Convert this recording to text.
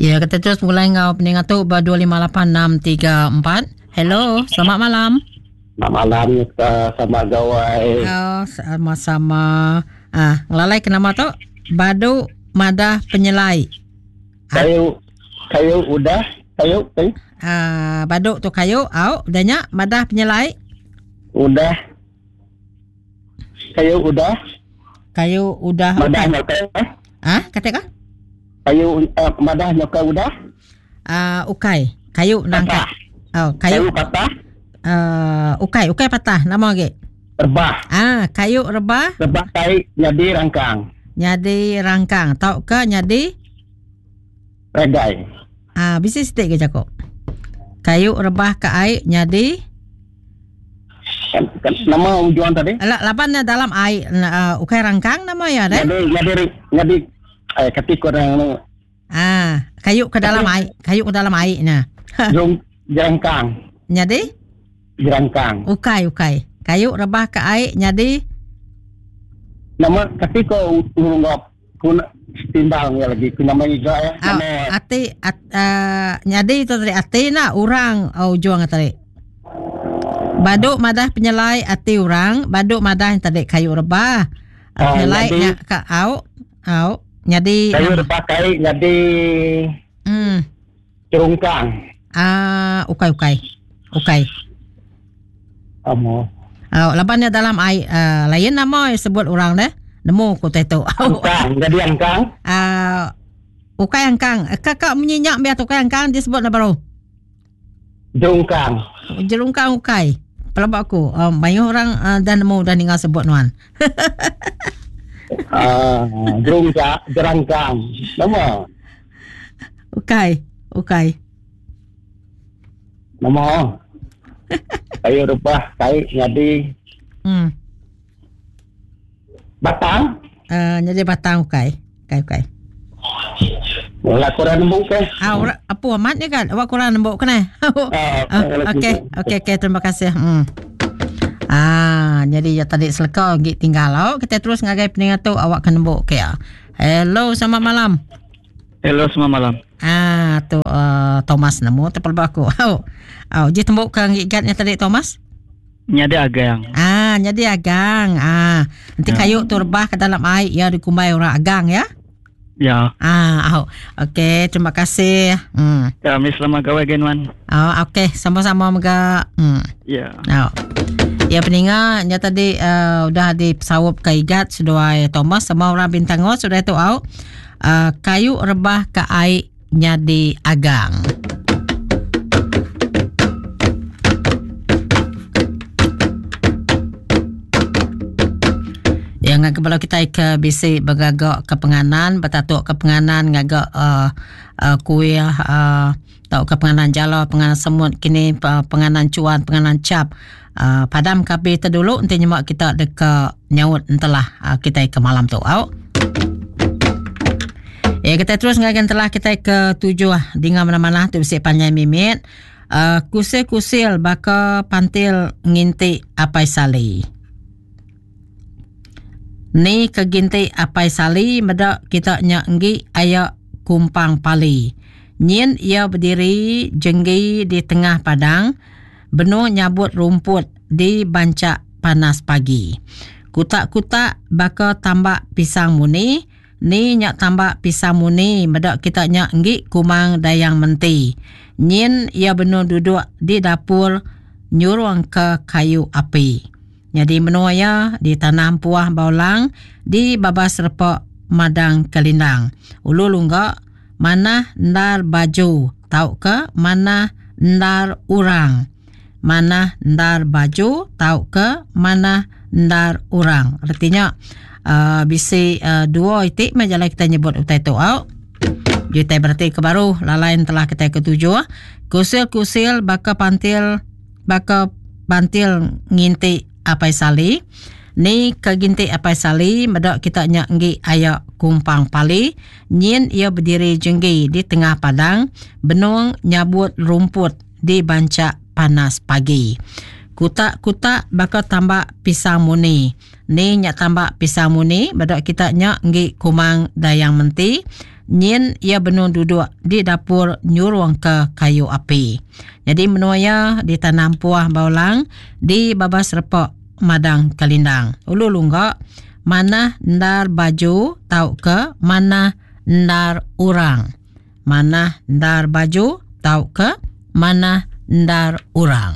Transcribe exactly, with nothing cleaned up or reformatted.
Ya, kita terus mulai ngau peningat tu ba dua lima lapan enam tiga empat. Hello, selamat malam. Selamat malam kita sama gawai. Oh, sama-sama. Ah, ngelalai ke nama tu? Badu Madah Penyelai. Kayu, kayu udah, kayu, kayu. Ah, badu tu kayu, au, udah nya Madah Penyelai. Udah. Kayu udah. Kayu udah. Madah nyokai. Ah, kata ka? Kayu uh, madah nyokai udah. Ah, uh, ukai. Kayu nangka. Oh, kayu, kayu patah. Uh, ukai, ukai patah. Nama lagi? Rebah. Ah, kayu rebah. Rebah tai nyadi rangkang. Nyadi rangkang tau ke nyadi regai. Ah, bisi sitik ke cakap. Kayu rebah ke air nyadi kan, kan, nama ujuan tadi? Ala laban dalam air uh, ukai rangkang nama ya deh. Nyadi nyadi nyadi eh kati kurang ah, kayu ke dalam air, kayu ke dalam air nah. Jung jerangkang. Nyadi jerangkang. Ukai ukai. Kayu rebah ke air nyadi nama kati ko urung ku timbang ya lagi ku nama iga ya. Nama ati at, uh, nyadi tu tadi ati nak orang oh, ujung tadi. Baduk madah penyelai ati orang, baduk madah yang tadi kayu rebah. Ah, penyelai nya ka au au nyadi kayu rebah kai nyadi hmm cerungkang. Ah, ukai ukai. Ukai. Amo. Oh, laban dia dalam air uh, lain nama yang sebut orang deh. Nemu ku tai tu. Angkang, jadi angkang. Ah, uh, ukai angkang. Kakak menyenyak biar ukai angkang disebut nak baru. Jerungkang. Jerungkang ukai. Pelabak aku. Um, banyak orang uh, dah nemu dah dengar sebut nuan. Ah, uh, jerungkang, jerangkang. Nama. Ukai, ukai. Nama. Kayu rebah kai jadi hmm. Batang. Uh, jadi batang ukai. Ukai ukai. Wala kurang nembuk ke? Ah, ora, apa amat ni kan? Awak kurang nembuk kena. Ah, okey, okey okey terima kasih. Hmm. Ah, jadi ya tadi seleka gig tinggal au. Kita terus ngagai peningat tu awak kena nembuk ke ya. Hello, selamat malam. Hello, selamat malam. Ah, tu uh, Thomas nemu tepal aku. Au. Au, je tembuk ke gigatnya tadi Thomas? Nyadi agang. Ah, nyadi agang. Ah, nanti ya. Kayu tu rebah ke dalam air ya dikumbai orang agang ya. Ya. Ah, au. Okey, terima kasih. Hmm. Kami selamat gawai genwan. Oh, okey, sama-sama mega. Hmm. Ya. Au. Ya peninga nya tadi uh, udah di pesawat ke igat seduai Thomas sama orang Bintango sudah tu au. Uh, kayu rebah ke air nyadi agang. Yang ngak kepala kita ke bisi bergagak ke penganan, bertatuk ke penganan ngagak uh, uh, kuih uh, tau ke penganan jala, penganan semut kini uh, penganan cuan, penganan cap. Uh, padam kapi terdulu nanti nyemak kita deka nyaut entelah uh, kita ke malam tu. Au. Ya kita terus ngagan telah kita ke tujuh dengar mana-mana tu bisi panjai mimit. Uh, kusil-kusil baka pantil nginti apai sali. Ni ke ginti apai sali medak kita nya enggi ayak kumpang pali. Nyin ia berdiri jenggi di tengah padang benung nyabut rumput di bancak panas pagi. Kutak-kutak baka tambak pisang muni. Ni nyak tambak pisang muni medak kita nyak enggi kumang dayang menti. Nyin ia benung duduk di dapur nyurung ke kayu api. Jadi menua ya di tanah puah baulang di babas repok madang kelindang. Ulu lunggak mana ndar baju tau ke mana ndar urang. Mana ndar baju tau ke mana ndar urang. Artinya uh, bisi uh, dua itik majalah kita nyebut utai tu au. Jutai berarti ke baru lalain telah kita ketujuh. Kusil-kusil baka pantil baka pantil nginti apai sali. Ni ke ginti apai sali medak kita nyak enggi ayak kumpang pali. Nyin ia berdiri jenggi di tengah padang benung nyabut rumput di bancak panas pagi. Kutak-kutak baka tambak pisang muni. Ni nyak tambak pisang muni medak kita nyak enggi kumang dayang menti. Nyin iya benung duduk di dapur nyurungka kayu api. Nyadi menua iya ditanam puah baulang di babas repa madang kelindang. Ulu lungga manah endar baju tauka manah endar orang. Manah endar baju tauka manah endar orang.